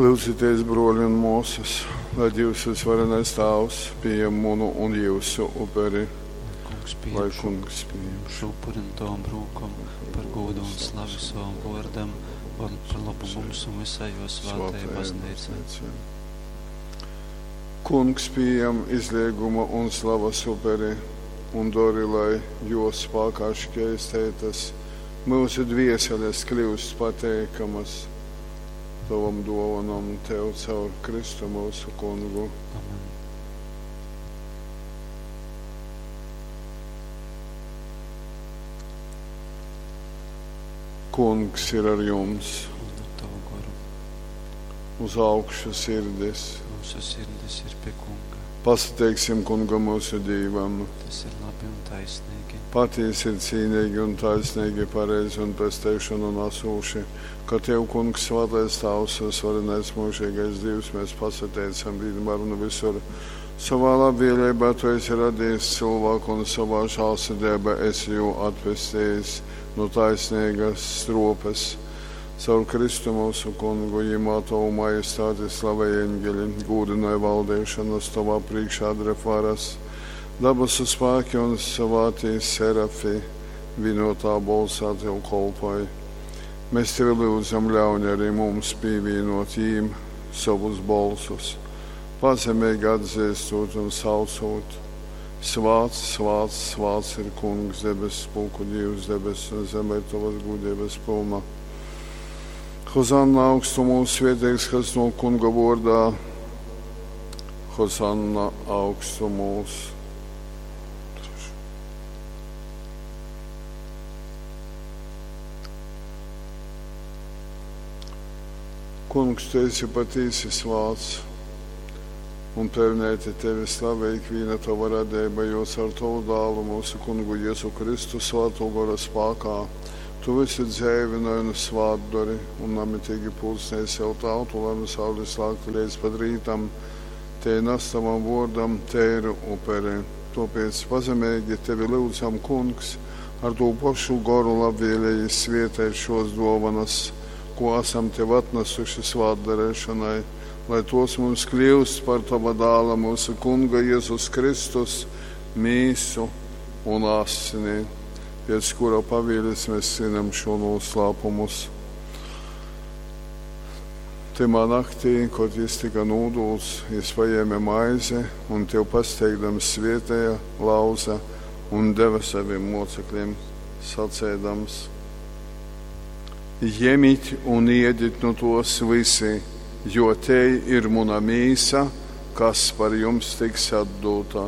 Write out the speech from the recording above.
Lyudzitēs, brōli un mōsas, lai Dīvs vysvarenais Tāvs pījem munu un jyusu uperi. Lai Kungs Lai pījam šo, Kungs pījem šo upuri nu tovom rūkom par gūdu un slavi sovam vōrdam, par lobu mums un visai jō svātajai Svātajai Bazneicai. Bazneicai. Kungs pījam izleiguma un slavas uperi un dori, lai jō spākā škeisteitas myusu dvieseles kļyust pateikamas tovom dōvonom tev caur Kristu myusu Kungu. Amen. Kungs ir ar jums. Un ar tavu goru. Uz augšu sirdis. Mūsu sirdis ir pie Kunga. Pasateiksim Kungam mūsu Dīvam. Tas ir labi un taisnīgi. Patiesi ir cīnīgi un taisnīgi, pareizi un pesteišanu nesūši, ka Tev, Kungs, svētais Tēvs, visvarenais mūžīgais Dievs, mēs pasateicam vienmēr un visur. Savā labvēlībā Tu esi radījis cilvēku un savā žēlsirdībā esi jū atpestījis no taisnīgas stropes. Caur Kristu mūsu Kungu, jimā Tavu majestāti slavē eņģeļi, gūdināja valdīšanas Tavā priekšā dref varas. Dabasu spēki un svātī serafi vienotā bolsā Tev kolpoja. Mēs Tevi lūdzam, ļauj arī mums pievienot jīm savus bolsus, pazemīgi atzīstot un saucot. Svāts, svāts, svāts ir Kungs, debesu pulku Dievs, debesu un zeme ir Tavas gudrības pilna. Hozanna augstumos svētīgs, kas no Kunga vārdā. Hozanna augstumos. Kungs, tu esi patiesi svāts, un pelnēti tevi slavē ikviena tava radība, jo caur tavu dālu mūsu kungu Jēzu Kristu svāto gora spākā tu visu dzēvināji un svātdori un namitīgi pulcēji sev tautu, lai no saules lāktu līdz pat rītam, te nes tavam vārdam tēru uperi. Tāpēc pazemīgi tevi lūdzam, kungs, ar to pašu goru labvēlīgi svietēt šos dovanas, ko esam tev atnesuši svātdarēšanai, lai tos mums kļūst par tava dāla mūsu kunga Jēzus Kristus mīsu un asini, pēc kura pavēles mēs svinam šo noslēpumus. Timā naktī, kad jis tika nūdūts, jis paēma maizi un tev pasteigdams svietēja, lauza un deva saviem mocekļiem, sacēdams: Ņemiet un iediet no tos visi, jo te ir muna mīsa, kas par jums tiks atdota.